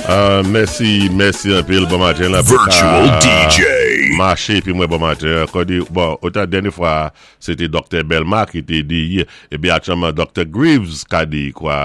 Mèsi, mèsi anpil bon maten la pou ka maché épi mwen bon maten kòdi bon otan dènye fwa sé té Doktè Belma ki té di épi aktyèlman Doktè Greaves ka di kwa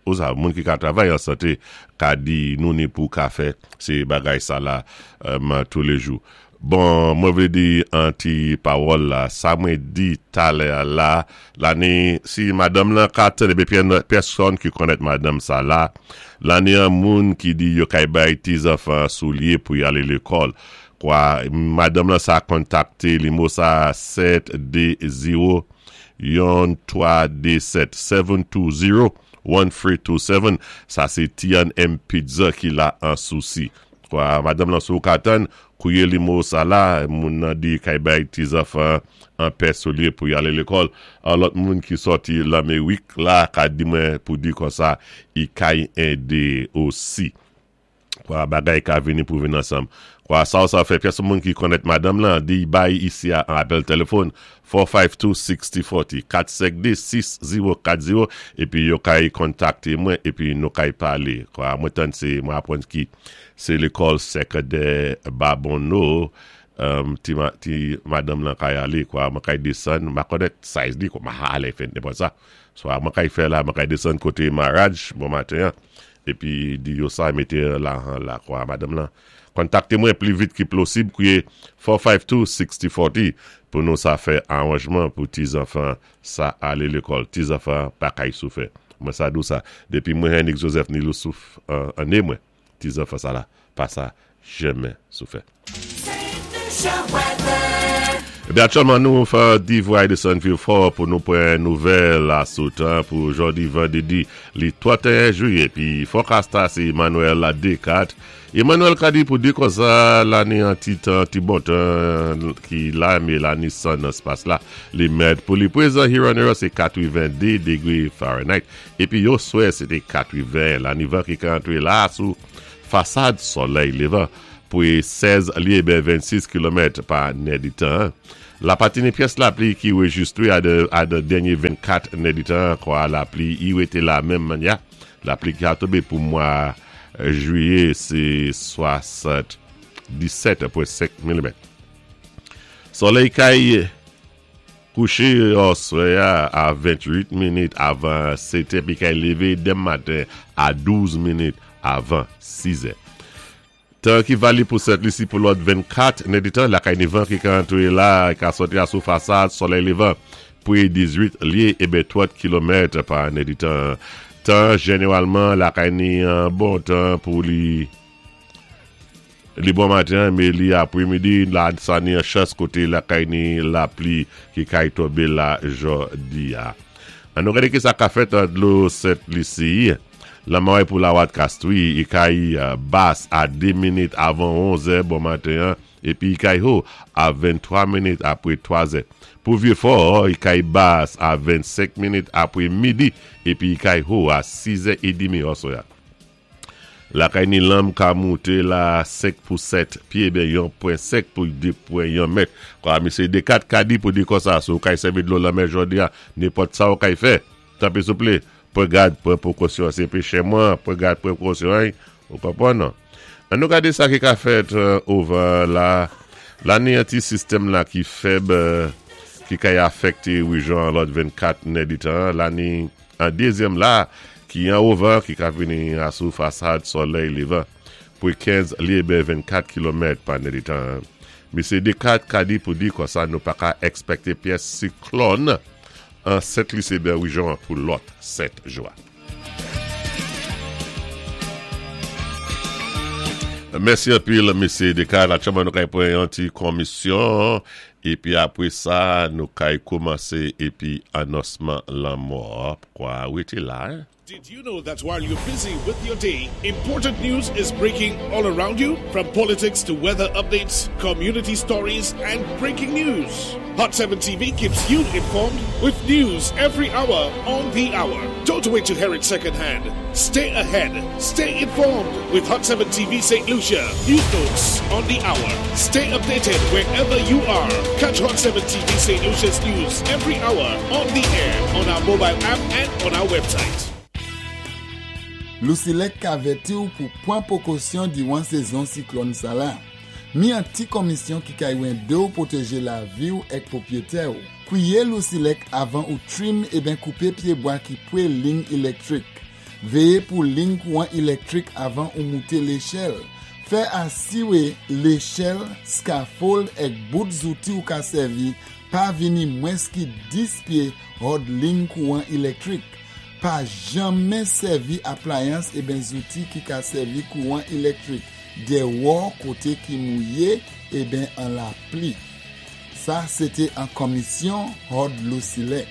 ou sa moun ki ka travay an santé ka di nou ni pou ka fè sé bagay sa la toulejou. Bon mwen vle di an ti pawòl la sa mwen di talè a la lani si madanm lan ka tande epi pèsòn ki konnèt madanm sa la lani an moun ki di yo kay bay ti zanfan soulye pou yale lekòl kwa madanm lan sa kontakte limo sa 7 2 0 yon 3 2 7 7 2 0 1 3 2 7 sa se T and M pizza ki la an sousi. Kwa madanm lan sou katann, kouye limo sa la, moun nan di kay bay ti zanfan an pè soulye pou yale lekòl. An lòt moun ki sòti Lanmerik la ka di mwen pou di konsa i kay ende osi. Kwa bagay ka vini pou vin ansanm. Kwa sa w sa fè pyès moun ki konnèt madanm lan di bay isi a an apèl telefòn 452 6040, 452 6040, epi yo kay kontakte mwen epi nou kay pale. Kwa mwen tann se mwen aprann ki se lekòl sekondè Babonneau ti ti madanm lan kay ale kwa mwen kay desann m pa konnèt size li kwa m pa ale fè nenpòt sa. Swa mwen kay fè la mwen kay desann kote Maraj bon maten an epi di yo sa mete lahan la kwa madanm lan Kontakte mwen pli vit ki plosib kouye 452 6040 pou nou sa fè aranjman pou ti zanfan sa ale lekòl. Ti zanfan pa kay soufè. Mwen sa dou sa depi mwen Hennick Joseph ni Loussouf an ne mwen ti zanfan sa la pa sa jenmen soufè. Ebyen aktyèlman nou fè divway de Sunview 4 pou nou pran nouvèl asou tan pou jodi vandredi li 31 jiyè epi fòkas ta se Emmanuel Descartes Emmanuel ka di pou di konsa la ni an ti tan ti bon tan ki la me la ni san nan spas la li mèt pou li prezan Huron se 82 degre Fahrenheit epi yon swè se te 80 la ni van ki ka antre la sou fasad solèy levan pou 16 lye ben 26 kilomèt pa nèditan la patine pyès lapli ki rejistre a dan dènye 24 nèditan kwa lapli i rete la menm manya. Lapli ki a tonbe pou mwa Jwiye se 77.5 milimèt. Solèy kay kouche oswè a a 28 minit avan 7 è epi kay leve demen maten a 12 minit avan 6 è. Tan ki valib pou Sent Lisi pou lòt 24 nèdtan, lakay ni van ki ka antre la, ka sòti a sou fasad solèy levan pre 18 lye e ben 30 kilomèt pa nèdtan. Tan jeneralman lakay ni an bon tan pou li li bon maten me li apre midi la sa ni an chans kote lakay ni lapli ki kay tonbe la jodi a. An nou gade ki sa ka fèt an dlo Sent Lisi. Lanmò e pou Lawat Kastwi, Ikay Bas a 2 minit avan 11 zè bon maten an epi Ikay Ho a 23 minit apre 3 zè. Pou Vye Fò, Ikay Bas a 25 minit apre midi epi Ikay Ho a 6 zè edimi òswè a. Lakay ni lanm ka moute la 5 pou 7 pye ben yon pwen 5 pou 2 pwen yon mèt. Kwa misye Dekat ka di pou di konsa, si w kay sèvi dlo lanmè jodi a, nenpòt sa w kay fè, Tanpri souple, pran gad, pran pwokosyon. Se pechè mwen, pran gad, pran pwokosyon, hein. Ou konprann? An nou gade sa ki ka fèt ovan la. La ni an ti sistèm la ki fèb, ki kay afekte rejyon an lòt 24 nèditan. La ni an dezyèm la, ki an ovan, ki ka vini asou fasad solèy levan. Pou 15 lye bè 24 kilomèt pa nèditan. Misye Descartes ka di pou di konsa nou pa ka ekspekte pyès siklòn. An Sent Lise Bèwijon an pou lòt 7 jou a. Mèsi anpil mesye Descartes. Aktyèlman nou kay pran yon ti komisyon epi apre sa nou kay koumanse epi anonsman lanmò kwa rete la. Did you know that while you're busy with your day, important news is breaking all around you? From politics to weather updates, community stories, and breaking news. Hot 7 TV keeps you informed with news every hour on the hour. Don't wait to hear it secondhand. Stay ahead. Stay informed with Hot 7 TV St. Lucia. News notes on the hour. Stay updated wherever you are. Catch Hot 7 TV St. Lucia's news every hour on the air on our mobile app and on our website. Lusilek ka vèti-w pou pwan pwékosyon diwan sézon siklòn sala. Mi an ti konmisyon ki kay wendé-w pwotéjé lavi-w èk pwopwétè-w. Kwiyé Lusilek avan ou trim eben koupé pyébwa ki pwé ling ilèktrik. Véyé pou ling kouwan ilèktrik avan ou mouté léchèl. Fè asiwé léchèl, scaffold èk bout zouti ou ka sèvi pa vini mwens ki 10 pyé hòd ling kouwan ilèktrik. Pa janmen sèvi aplayans eben zouti ki ka sèvi kouwan ilèktrik dèwò koté ki mouyé eben an lapli. Sa sété an konmisyon hòd Lusilek.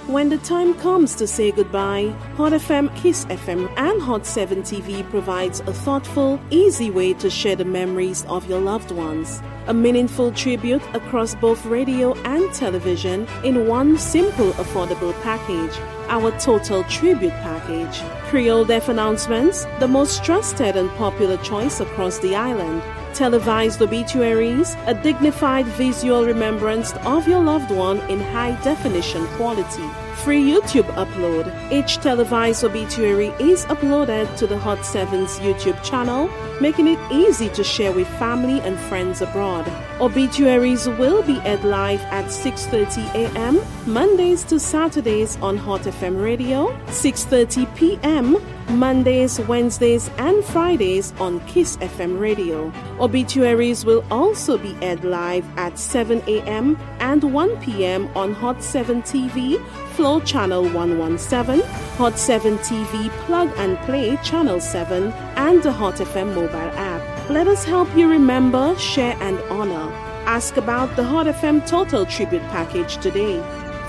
When the time comes to say goodbye, Hot FM, Kiss FM, and Hot 7 TV provides a thoughtful, easy way to share the memories of your loved ones. A meaningful tribute across both radio and television in one simple, affordable package. Our Total Tribute Package. Creole Deaf announcements, the most trusted and popular choice across the island. Televised obituaries, a dignified visual remembrance of your loved one in high definition quality. Free YouTube upload. Each televised obituary is uploaded to the Hot 7's YouTube channel, making it easy to share with family and friends abroad. Obituaries will be aired live at 6:30 a.m. Mondays to Saturdays on Hot FM Radio, 6:30 p.m. Mondays, Wednesdays, and Fridays on Kiss FM Radio. Obituaries will also be aired live at 7 a.m. and 1 p.m. on Hot 7 TV, Flow Channel 117, Hot 7 TV Plug and Play Channel 7, and the Hot FM mobile app. Let us help you remember, share, and honor. Ask about the Hot FM Total Tribute Package today.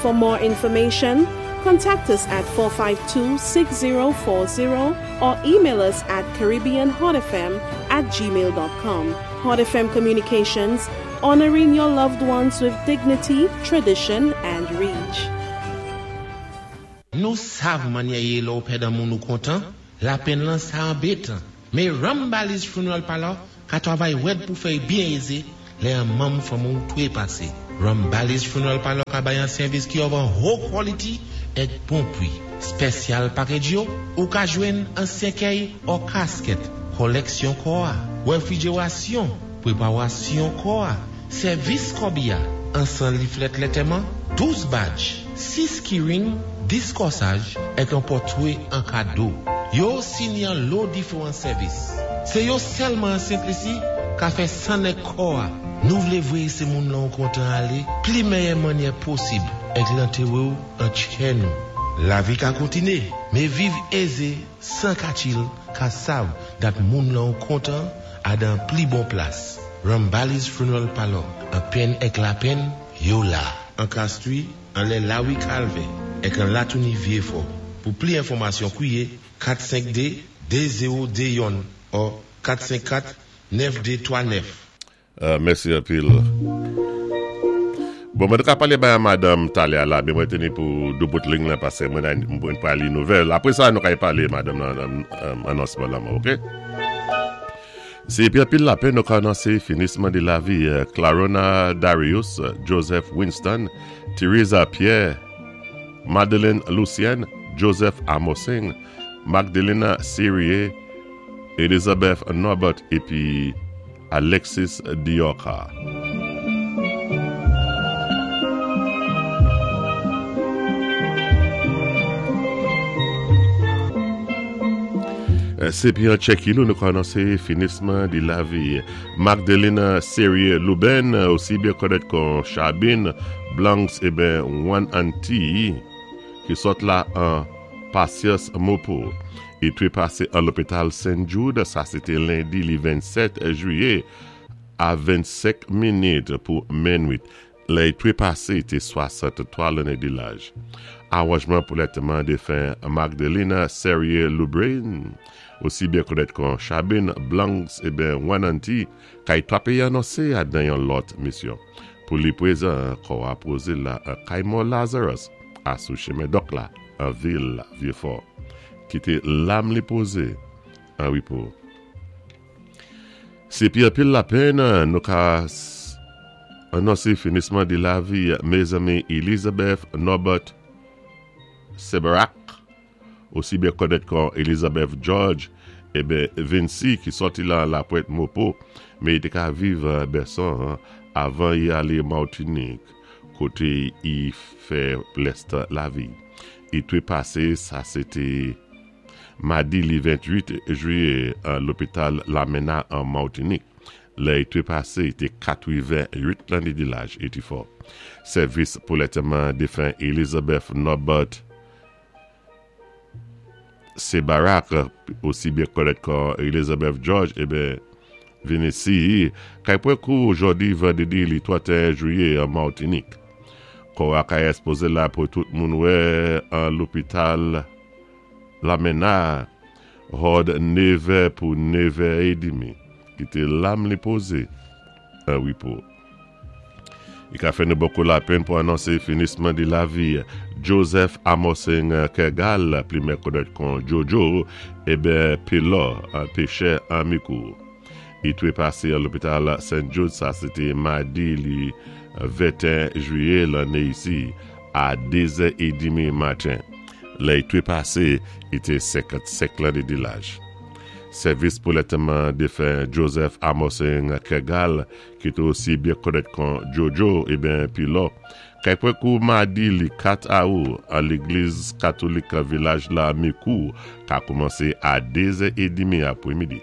For more information, contact us at 452 6040 or email us at CaribbeanHotFM at gmail.com. Hot FM Communications, honoring your loved ones with dignity, tradition, and reach. Nou sav mannyè yé lè-w pèd an moun ou kontan, lapenn lan sa anbétan. Mé Rambali's Funeral Parlor ka twavay wèd pou fè-y byen ézé lè an manm fanmi-w twépasé. Rambali's Funeral Parlor ka bay an sèvis ki of an ho quality èk bon pwi. Spèsyal package yo, ou ka jwenn an sèkèy or casket, kòlèksyon kò-a, wèfrijerasyon, pwépawasyon kò-a, sèvis kòbiya, ansan liflèt lètèman, 12 badge, 6 keyring, 10 kòsaj, èk an pòtwé an kado. Yo osi ni an lo diféwan sèvis. Sé yo sèlman an Sentlisi ka fè nèg kò-a. Nou vlé vwéyé sé moun lan ou kontan alé pli mèyè mannyè posib èk lantéwé-w an tchè nou. Lavi ka kontiné, mé viv ézé 104 il ka sav dat moun lan ou kontan a dan pli bon plas. Rambali's Funeral Parlor, an penn èk lapenn, yo la. An Castries, anlè Lawi Kalvè, èk an Latouni Vyéfò. Pou pli enfòmasyon kwiyé 452 2021 ò 454 9239. Mèsi anpil. Bon mwen te ka pale bay a madanm talè a la men mwen teni pou doubout ling lan pase mwen mwen pral li nouvèl. Apre sa nou ka pale madanm nan anonsman lanmò ok. Se epi anpil lapenn nou ka anonse finisman de lavi Clarona Darius, Joseph Winston, Theresa Pierre, Madeline Lucien, Joseph Amosing, Magdelena Serie, Elizabeth Norbert epi Alexis Diorca. Se pi an Tchèki nou nou ka anonse finisman di lavi Magdelena Serie Luben, osi byen konèt kon Chabin Blancs eben One Anti ki sòt la an Pasyans Mopo. Li trepase an lopital St. Jude, sa se te lendi li 27 jiyè a 25 minit pou minwit. Lè li trepase te 63 lanne de laj. Aranjman pou lantèman defen Magdelina Serrier Lubrin, osi byen konèt kon Chabin Blancs eben Wananti, kay 3 peyi anonse a dan yon lòt misyon. Pou li prezan kò a poze la an kay mò Lazarus a sou chemen dòk la an vil Vyefò. Kite lam li poze an repo. Se pi anpil lapenn nou ka anonse finisman de lavi mezanmi Elizabeth Norbert Seberak. osi byen konnèt kon Elizabeth George, eben Vincy ki sòti lan Lapwent Mopo, men i té ka viv Bèson avan i alé Martinik koté i fè lèstan lavi. I trepasé sa sé té madi li 28 jwiyé an lopital Lamena an Martinik. Lè i trepasé i té 88 lanné di laj 84. Sèvis pou lètèman defen Elizabeth Norbert Se Barack, osi byen konnèt kon Elizabeth George, eben, vin isi, kay pran kou jòdi vandredi li 31 jwiyé an Martinik. Kò a kay èspoze la pou tout moun wè an lopital Lamena, hòd nevè pou nevè edimi, kite lam li poze an repo. I ka fè nou bokou lapenn pou anonse finisman di lavi Joseph Amosing Kergal, plimè konnèt kon Jojo, eben Pelò, pechè an Mikou. I trepase an lopital St. Jude, sa se te madi li 21 jwiye lanne isi, a 2 zè edimi maten. Lè i trepase, i te 55 lanne di laj. Sèvis pou lètèman defen Joseph Amosing Kergal ki te osi byen konnèt kon Jojo eben Pilò, kay pran kou madi li 4 awou an legliz katolik vilaj la Mikou ka koumanse a 2 zè edimi apremidi.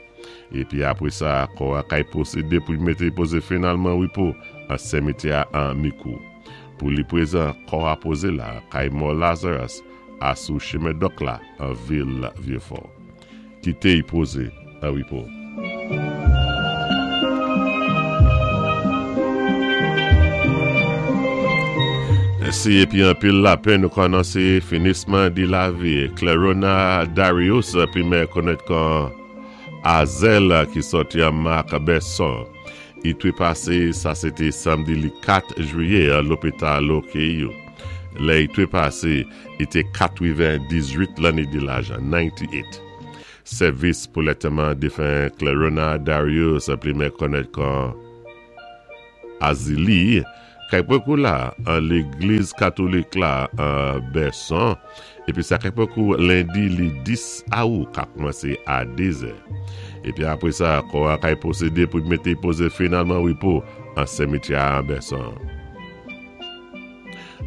Epi apre sa kò a kay pwosede pou li mete poze finalman repo an sèmetyè a an Mikou. Pou li prezan kò a poze la kay mò Lazarus a sou chemen dòk la an vil Vyefò. Kite y poze an repo. Mèsi epi anpil lapè nou kònanse finisman di lavi Clerona Darius pi mè konèt kon Azel ki sòti an Marc Besson i trepase sa se te samdi li 4 jwiyè an lopital OKU lè i trepase i te 98 lanne di laj 98. Sèvis pou lètèman defen Clerona Darius plimen konnèt kon Azili kay pran la an legliz katolik la an Bèson epi sa kay pran kou lendi li 10 awou ka koumanse a 2 zè epi apre sa kò a kay pwosede pou mete poze finalman repo an semityè a an Bèson.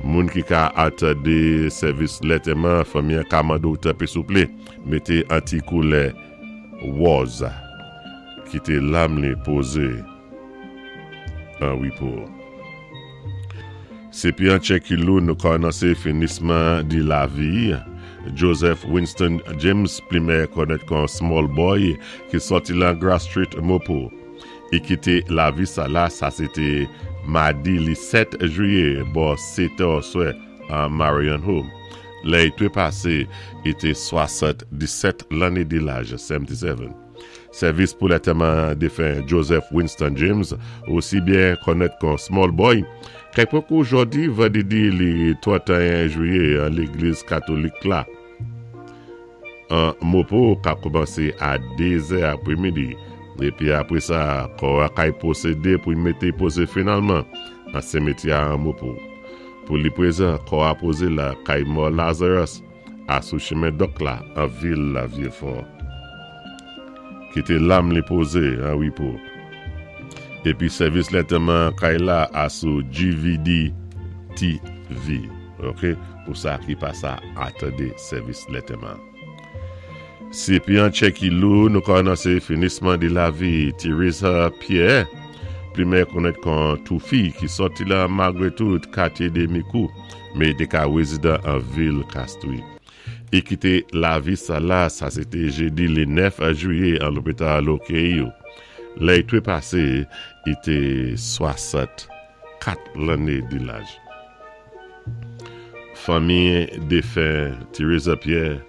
Moun ki ka atande sèvis lètèman fanmi an ka mande w tanpri souple mete an ti koulè wòz kite lam li poze an repo. Se pi an tchekilou nou kònanse finisman di lavi Joseph Winston James plimè konnèt kon Small Boy ki sòti lan Grass Street Mopo. I kite lavi sa la sa se te madi li 7 jwiye bò 7 è oswè an Marion Home. Lè i trepase i te 77 lanne de laj, 77. Sèvis pou lantèman defen Joseph Winston James, osi byen konnèt kon Small Boy, kèk pwen kou jòdi vandredi li 31 jwiye an legliz katolik la. An Mopo ka koumanse a 2 zè apremidi, epi apre sa kò a kay pwosede pou y mete poze finalman nan semetyè a an Mopo. Pou li prezan, kò a poze la kay mò Lazarus a sou chemen Dòk la an vil Vyefò. Kite lam li poze an repo. Epi sèvis lètèman kay la a sou GVD TV. Ok pou sa ki pa sa atande sèvis lètèman. Si pi an tchè ki lou nou kònanse finisman di lavi Theresa Pierre plimè konnèt kon toufi ki sòti lan malgre tout katye de mikou me te ka rezidan an vil Castries. I kite lavi sa la sa se te jedi le 9 jwiye an lopital OKU. Lè i trepase i te 64 lanne di laj. Fanmi defen Theresa Pierre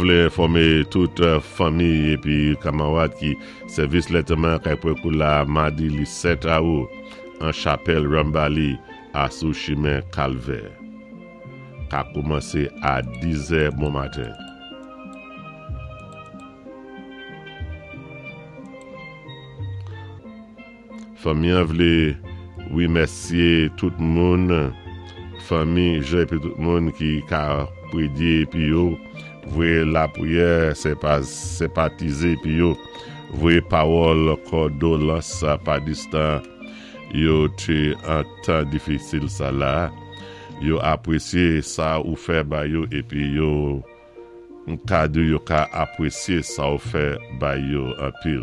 vle enfòme tout fanmi epi kamarad ki sèvis lèteman kay pran la madi li 7 awou an chapèl Rambali a sou chimen Kalvè ka koumanse a 10 zè bon maten. Fanmi an vle remèsye tout moun, fanmi, jan epi tout moun ki ka. prédyé épi yo voyé lapriyè, senpatizé épi yo voyé pawòl kondolans pa distan yo té an tan difisil sa la. Yo apwésyé sa ou fè ba yo épi yo ka di yo ka apwésyé sa ou fè bay yo anpil.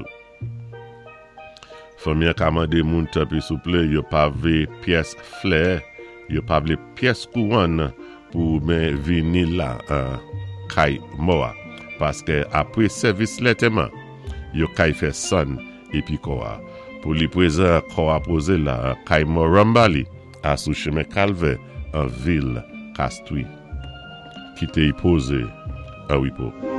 Fanmi an ka mande moun tanpri souple yo pa vle pyès flè, yo pa vle pyès kouwòn pou men vini la kay mò a paske apre sèvis lètèman yo kay fè sann epi kò a pou li prezan kò a poze la kay mò Rambali a sou chemen Kalvè an vil Kastri. Kite y poze an repo.